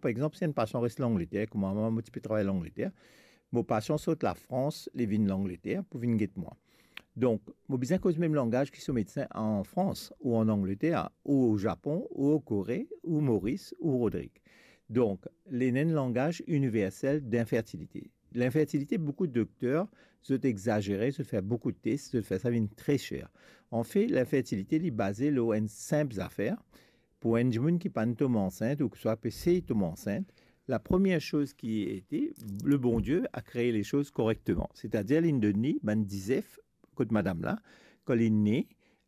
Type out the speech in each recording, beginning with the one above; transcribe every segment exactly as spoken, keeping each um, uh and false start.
Par exanp, si enn pasian res Langleter, kouma mwa, mo ti pe travay Langleter, mo pasian sort Lafrans, li vinn Langleter pou vinn get mwa. Donk, mo bizin koz mem langaz ki so medsin an Frans, ou an Angleter, ou o Zapon, ou o Kore, ou Moris, ou Rodrig. Donk, li ena enn langaz iniversel d'infertilite. L'infertilite, boukou dokter, zot exazere, zot fer boukou tes, zot fer sa vinn tre ser. Anfet, l'infertilite, li baze lor enn sinp zafer. Pou enn dimoun ki pa'nn tom ansint ouswa pe sey tom ansint, la premie soz ki ete, le Bondie a kree le soz korekteman. Setadir, linn donn li bann dizef kot madam la, kan li ne,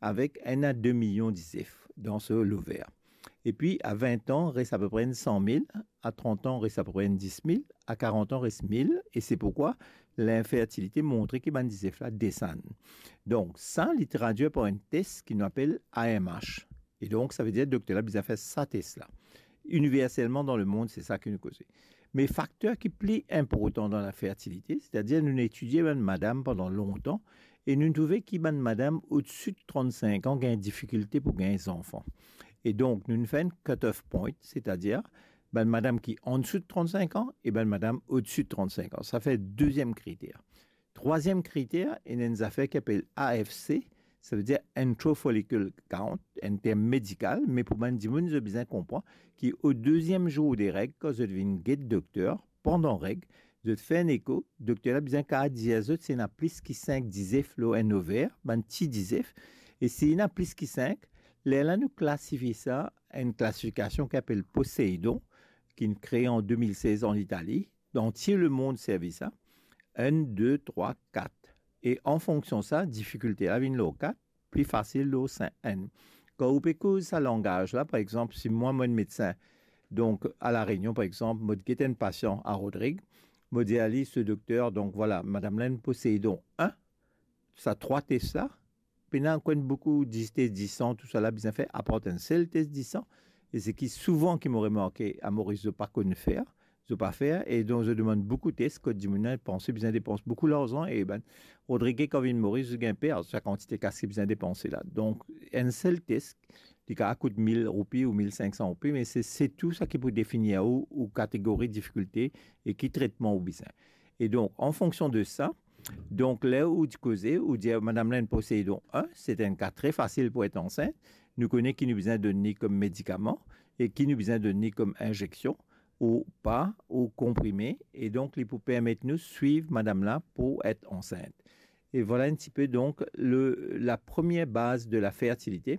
avek enn a de milion dizef dan so lover. Epi, a vin an, res apepre enn san mil, a trant an, res apepre enn dis mil, a karant an, res mil, e se pourkwa linfertilite montre ki bann dizef la desann. Donk, sa, li tradwir par enn tes ki nou apel A M H. E donk, savedir dokter la bizin fer sa tes la. Iniverselman dan lemond, se sa ki nou koze. Me fakter ki pli inportan dan lafertilite, setadir nou etidie bann madam pandan lontan e nou trouve ki bann madam odsi de trannsink an gagn difikilte pou gagn zanfan. E donk, nou fer enn cut-off point, setadir bann madam ki ansou de trannsink an e bann madam odsi de trannsink an. Sa fer deziem kriter. Trwaziem kriter, ena enn zafer ki apel A F C, savedir intrafollicular count, enn term medikal, me pou bann dimoun, zot bizin konpran ki o deziem zour de reg, kan zot vinn get dokter, pandan reg, zot fer enn eko, dokter la bizin kapav dir zot si ena plis ki sink dizef lor enn lover, bann ti dizef, e si ena plis ki sink, lerla nou klasifie sa, enn klasifikasion ki apel Poseidon, ki kree an de mil sez an Itali, dan tir lemond servi sa, enn, de, trwa, kat. E an fonksion sa, difikilte la vinn lor kat, pli fasil lor sink, enn. Kan ou pe koz sa langaz la, par exanp, si mwa, mo enn medsin, donk, a La Rényon, par exanp, mo get enn pasian a Rodrig, mo dir a li, se dokter, donk, vwala, madam la ena Poseidon enn, sa trwa tes la, pena konn boukou dis tes disan, tousala bizin fer, apar enn sel tes disan, e seki souvan ki mo remarke a Moris, zot pa konn fer, zot pa fer, e donk zot demann boukou tes, kot dimoun la panse bizin depans boukou larzan, e bann Rodrig kan vinn Moris, zot gagn per, sa kantite kas ki bizin depanse la. Donk, enn sel tes, li kapav kout mil roupi ou mil sink san roupi, me se, se tou sa ki pou definir ou, ou kategori difikilte e ki tretman ou bizin. E donk, an fonksion de sa, donk, ler ou ti koze, ou dir, madam la ena Poseidon enn, se enn ka tre fasil pou et ansint, nou kone ki nou bizin donn li kom medikaman e ki nou bizin donn li kom inzeksion, ou pa, ou konprime, e donk, li pou permet nou swiv madam la pou et ansint. E vwala enn tipe, donk, le, la premie baz de lafertilite.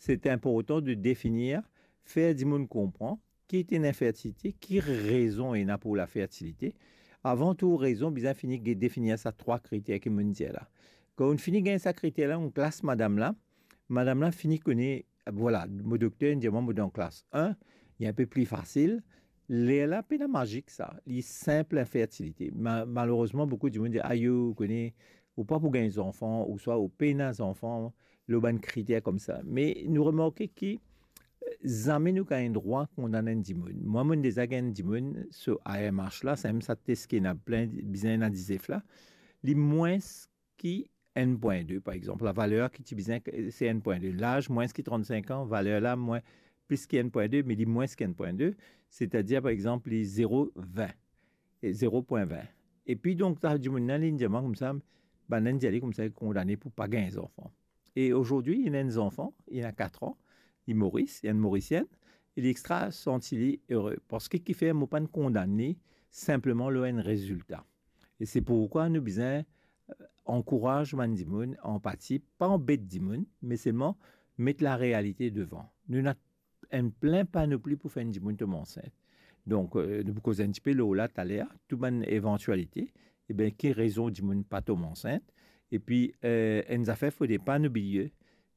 Se inportan de definir, fer dimoun konpran ki ete linfertilite, ki rezon ena pou lafertilite. Avan tou rezon, bizin fini ge-, definir sa trwa kriter ki mo'nn dir la. Kan ou fini gagn sa kriter la, ou klas madam la, madam la fini kone, vwala, mo dokter inn dir mwa mo dan klas enn, li enpe pli fasil. Lerla pena mazik sa, li sinp linfertilite. Ma-, malerezman, boukou dimoun dir, ayo, ou kone, ou pa pou gagn zanfan, ouswa ou pena zanfan, lor bann kriter koumsa. Me nou remarke ki, eh, zame nou gagn drwa kondann enn dimoun. Mwa, mo'nn deza gagn dimoun so A M H la, samem sa tes ki ena plin, bizin ena dizef la, li mwins ki enn pwin de, par exanp. Lavaler ki ti bizin, se enn pwin de. Laz mwins ki trannsink an, valer la mwin, plis ki enn pwin de, me li mwins ki enn pwin de, setadir, par exanp, li zero vin, e zero pwin vin. Epi donk, sa dimoun la, linn dir mwa koumsa, bann la inn dir li koumsa, li kondane pou pa gagn zanfan. E azordi, li ena enn zanfan, li ena kat an, li Moris, li enn Morisien, e li extra santi li ere. Parski kifer mo pa'nn kondann li sinpleman lor enn rezilta. E se pourkwa nou bizin, eh, ankouraz bann dimoun, anpati, pa anbet dimoun, me selman met larealite devan. Nou ena enn plin panopli pou fer enn dimoun tom ansint. Donk, eh, nou pou koz enn tipe lor la taler, tou bann evantialite, eben, ki rezon dimoun pa tom ansint. Epi, eh, enn zafer fode pa nou bliye,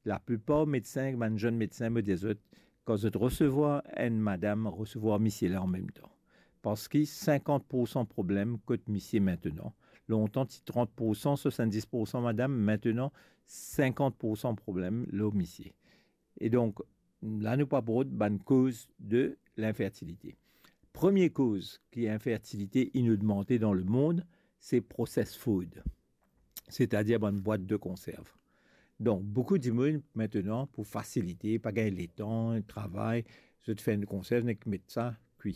laplipar medsin, bann zenn medsin, mo dir zot, kan zot resevwar enn madam, resevwar misie la anmemtan. Parski sinkant poursan problem kot misie mintenan. Lontan ti trant poursan, swasanndis poursan madam, mintenan sinkant poursan problem lor misie. E donk, la nou pou abord bann koz de linfertilite. Premie koz ki infertilite inn ogmante dan lemond, se processed food, setadir bann bwat de konserv. Donk, boukou dimoun mintenan, pou fasilite, pa gagn letan, travay, zot fer enn konserv, nek met sa kwi.